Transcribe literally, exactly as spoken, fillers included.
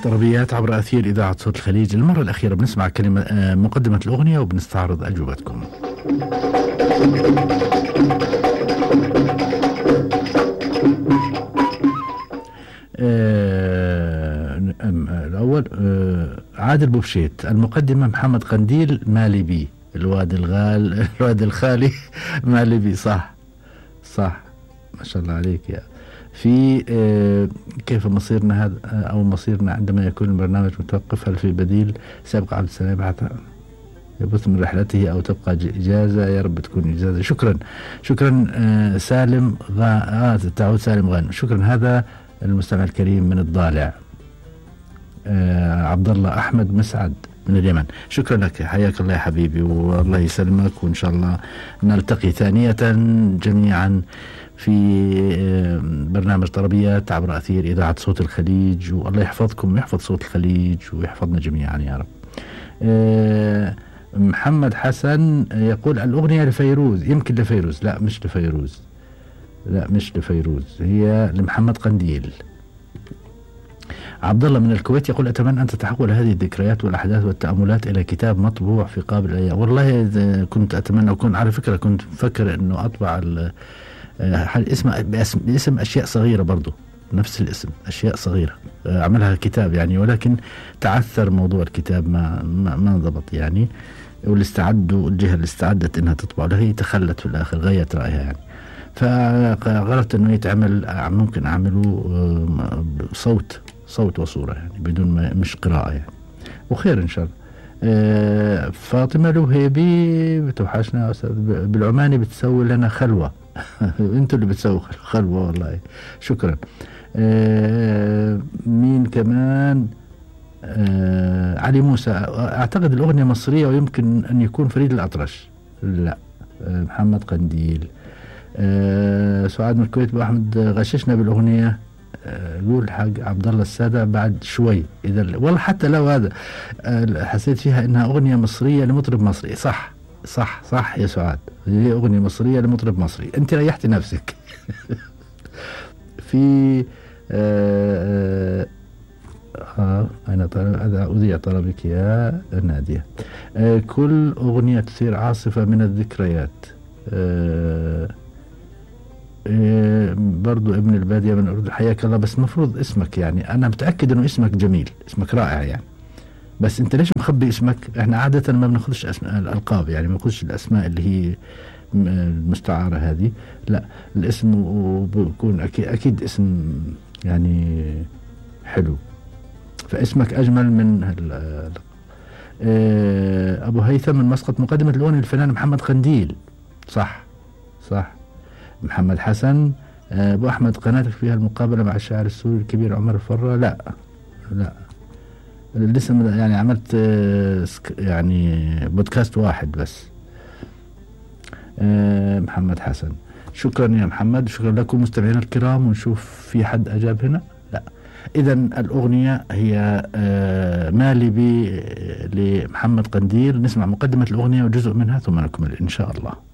طربيات عبر أثير إذاعة صوت الخليج. المرة الأخيرة بنسمع كلمة مقدمة الأغنية وبنستعرض أجوبتكم. الأول عادل بوبشيت، المقدمة محمد قنديل مالي بي، الواد الغال الواد الخالي مالي بي. صح صح ما شاء الله عليك يا. في آه كيف مصيرنا هذا أو مصيرنا عندما يكون البرنامج متوقف؟ هل في بديل؟ سيبقى عبد السلام يبث من رحلته أو تبقى إجازة؟ يا رب تكون إجازة. شكرا شكرا آه سالم غا آه تعود سالم غانم. شكرا. هذا المستمع الكريم من الضالع آه عبد الله أحمد مسعد من اليمن. شكرا لك، حياك الله يا حبيبي والله يسلمك، وإن شاء الله نلتقي ثانية جميعا في برنامج طربيات عبر أثير إذاعة صوت الخليج، والله يحفظكم ويحفظ صوت الخليج ويحفظنا جميعا يا رب. أه محمد حسن يقول الأغنية لفيروز. يمكن لفيروز، لا مش لفيروز، لا مش لفيروز، هي لمحمد قنديل. عبد الله من الكويت يقول أتمنى أن تتحول هذه الذكريات والأحداث والتأملات إلى كتاب مطبوع في قابل الأيام. والله كنت أتمنى، وكنت على فكرة كنت فكر أنه أطبع اسم باسم, باسم أشياء صغيرة برضو، نفس الاسم أشياء صغيرة أعملها كتاب يعني، ولكن تعثر موضوع الكتاب ما ما, ما ضبط يعني، واللي استعدوا الجهة اللي استعدت إنها تطبع له هي تخلت في الآخر، غيرت رأيها يعني. فقررت إنه يتعمل، ممكن أعمله صوت صوت وصورة يعني بدون ما مش قراءة يعني، وخير إن شاء الله. أه فاطمة الوهيبي بتوحشنا أستاذ بالعماني، بتسوي لنا خلوة انتوا اللي بتسووا خلوة والله. شكرا. أه مين كمان؟ أه علي موسى، اعتقد الأغنية مصرية ويمكن ان يكون فريد الأطرش. لا أه محمد قنديل. أه سعاد من الكويت، احمد غششنا بالأغنية. يقول حق عبد الله السادة بعد شوي، اذا والله حتى لو هذا أه حسيت فيها انها أغنية مصرية لمطرب مصري. صح صح صح يا سعاد، هي أغنية مصرية لمطرب مصري، أنت ريحتي نفسك. في آه آه أنا طلب أذيع طلبك يا نادية. آه كل أغنية تثير عاصفة من الذكريات. آه آه برضو ابن البادية من الأردن، حياك الله. بس مفروض اسمك يعني، أنا متأكد أنه اسمك جميل، اسمك رائع يعني، بس انت ليش مخبي اسمك؟ احنا عادة ما بناخذش اسماء الالقاب يعني، ما بناخذش الاسماء اللي هي المستعارة هذه، لا الاسم وبكون اكيد اكيد اسم يعني حلو، فاسمك اجمل من هال. اه ابو هيثم من مسقط، مقدمة الاغنية الفنان محمد قنديل. صح صح. محمد حسن، اه ابو احمد قناتك فيها المقابلة مع الشاعر السوري الكبير عمر الفرة. لا لا لسه يعني عملت يعني بودكاست واحد بس. محمد حسن، شكرا يا محمد، شكرا لكم مستمعينا الكرام. ونشوف في حد أجاب هنا. لا، إذا الأغنية هي مالي بي لمحمد قنديل. نسمع مقدمة الأغنية وجزء منها ثم نكمل إن شاء الله.